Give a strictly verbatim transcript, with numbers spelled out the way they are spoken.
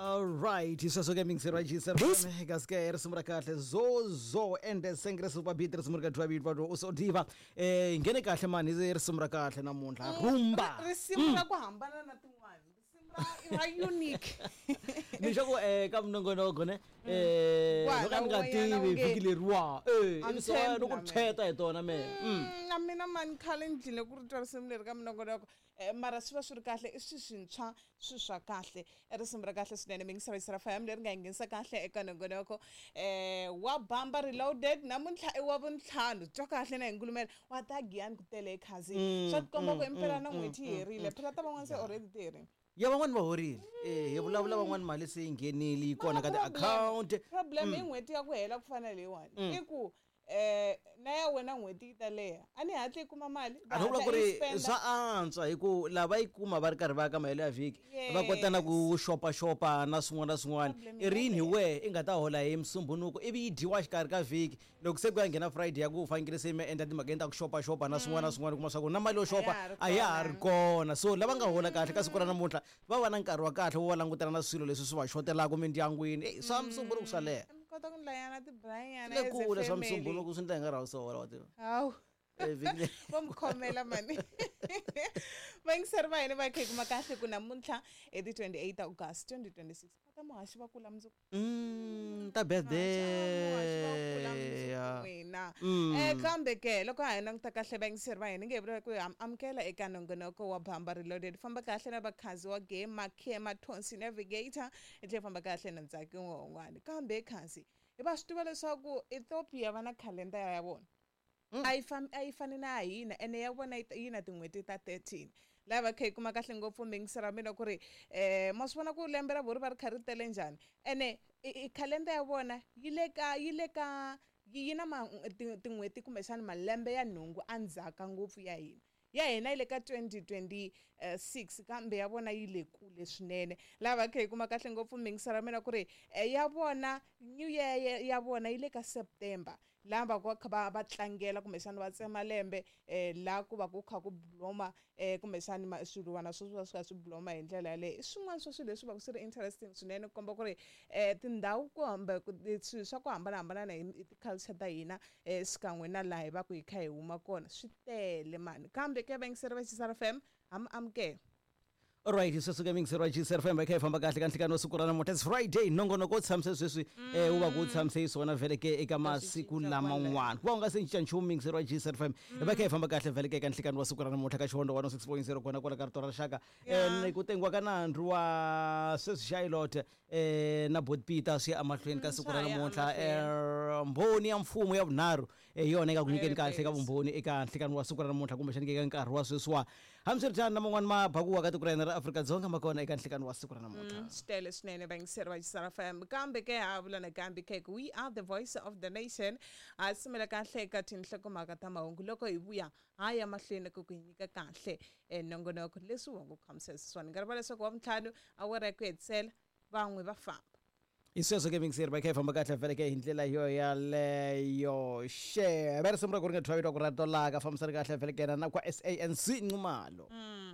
Alright, sweswo ke mingiseri wa G S kasi ke risimu ra kahle zozo ende sengre super beat, risimu ri ka Dwa Beat u so diva eh nghene kahle mani, hi risimu ra kahle namuntlha rumba. Risimu ra ku hambana na tin'wana, risimu ra ra unique. Ni xa ku eh ka minongonoko ne eh Wa, loko a ni nga na wena tivi unge- vhiki leriwa eh A ni ivi so tshembi loko na mina. tsheta hi tona me. Mm, na mina mani khale ni dlile ku ri twa risimu leri ka minongonoko, eh, mara swi va swi ri kahle, i swi swintshwa, swi swa kahle, i risimu ra kahle swinene. Mingisavisa F M leri nga hi nghenisa kahle eka nongonoko eh wa Bamba Reloaded. Namuntlha i wa vuntlhanu, twa kahle na hi ngulumela wa ta Giyani ku tele ekhazi, swa tikomba ku impela na n'hweti yi herile phela, ta van'wana se already ti herile. Ya, van'wani va horile, eh hi vulavula van'wani mali se yi nghenile, yi kona ka ti-account. Problem i n'hweti ya ku hela ku fana leyiwani i ku eh na ya wena n'hweti yi ta leha, a ni hatli yi kuma mali. A ni vula ku ri swa antswa hi ku lava yi kuma va ri karhi va ya ka mahelo ya vhiki, va kota na ku xopaxopa na swin'wana na swin'wana. Problem I rini hi wehe i nga ta hola hi Musumbunuku ivi yi dyiwa xikarhi ka vhiki, loko se ku ya nghena Friday ya ku u fanekele se mi endla timhakeni ta ku xopaxopa na swin'wana na swin'wana, kuma swa ku na mali yo xopa A ya ha ri a ya ha ri kona. So lava nga hola kahle ka siku ra namuntlha va va na nkarhi wa kahle wo va langutana na swilo leswi swi va xotelaka mindyangwini. Eyi, swa Musumbunuku swa leha. Mi kota ku ndlayana tibrayana. Le kule swa Musumbunuku swi ndla hi nga ra sola wa tiva. Hawu. Eh, vhiki leri- Va mi khomela mani vayingiseri va hina va kha hi kuma kahle ku namuntlha i ti twenty-eight August twenty twenty-six, va ta muhaxi va kula mundzuku. Mm, ta Muhaxi va kula birthday mundzuku ya. N'wina. Mm. Eh kambe ke loko ha hi languta kahle vayingiseri va hina nge hi vula ku hi am- amukela eka nongonoko wa Bamba Reloaded, famba kahle na vakhazi wa game Makhema Tonsi Navigator, hi tlhela hi famba kahle na Ntsaki un'wana. Kambe khazi hi va swi tiva leswaku Ethiopia va na khalendara ya vona, a yi fami a yi fani na ya hina, ene ya vona yi ta- yi na tin'hweti ta thirteen. Laha va kha hi kuma kahle ngopfu mingisera mina ku ri um ma swi vona ku lembe ra vona ri va ri kha ri tele njhani, ene i khalenda ya vona yi le ka yi le ka yi yi na ma ti- tin'hweti kumbexana malembe ya nhungu endzhaka ngopfu ya hina. Ya hina yi le ka twenty twenty-six, kambe ya vona yi le kule swinene. Laha va kha hi kuma kahle ngopfu mingisera mina ku ri eh, ya vona new year ya- ya vona yi le ka September, laha va ku va kha va va tlangela kumbexana va tsema lembe, um laha ku va ku kha ku bloma um kumbexana ma- swiluwana swo swi va swi kha swi bloma hi ndlela yaleyo. I swin'wana swa swilo leswi va ku swi ri interesting swinene, ku komba ku ri um tindhawu kumbe ku- swilo swa ku hambanahambana hi hi ti-culture ta hina um xikan'we na laha hi va ku hi kha hi huma kona swi tele mani. Kambe ke vayingiseri va Xisara F M ha mi amukela. Alright, sweswo ke mingiseri wa G S F M, va kha hi famba kahle ka nhlikani wa siku ra namuntlha. It's Friday, nongonoko wu tshamise sweswi eh wu va ku wu tshamise xiswona vhele ke eka masiku Cinca laman'wana ku va u nga se cinca nchumu. Mingiseri wa G S F M, va kha hi famba kahle vhele ke eka nhlikani wa siku ra namuntlha ka Xivondho one oh six point zero kona kwala ka rito ra rixaka. Yeah. Eh ku tengiwa ka nandzu wa sweswi Charlotte eh na Bot Peter swi ya emahlweni ka Mm, siku ra swa ha ya namuntlha. emahlweni. Eh, mbhoni ya mfumo ya vunharhu eh, hi yona yi nga ku nyikeni kahle ka Yes. vumbhoni eka nhlikani wa siku ra namuntlha, kumbexani eka nkarhi wa sweswiwa. Hambiswiritano na man'wani mabakuwa ka tiko ra hina ra Afrika-Dzonga ma kona eka nhlikani wa siku ra namuntlha. Swi tele swinene vayingiseri va Xisara F M. Kambe ke ha vula nakambe ke ku we are the voice of the nation. Ha sumela kahle eka tinhlokomhaka ta mahungu, loko hi vuya ha ya mahlweni ku ku hi nyika kahle um nongonoko leswi wa ku khamisisa swona nkarhi va leswaku wa vuntlhanu awara ya ku hetisela van'we va famba. Hi sweswo ke mingiseri va kha hi famba kahle vhele ke hi ndlela yo yaleyo xe va risimu ra ku ri nga thwavitwa ku ra tolaka fambisani kahle vhele ke na kwa S A N C Nxumalo. Mm.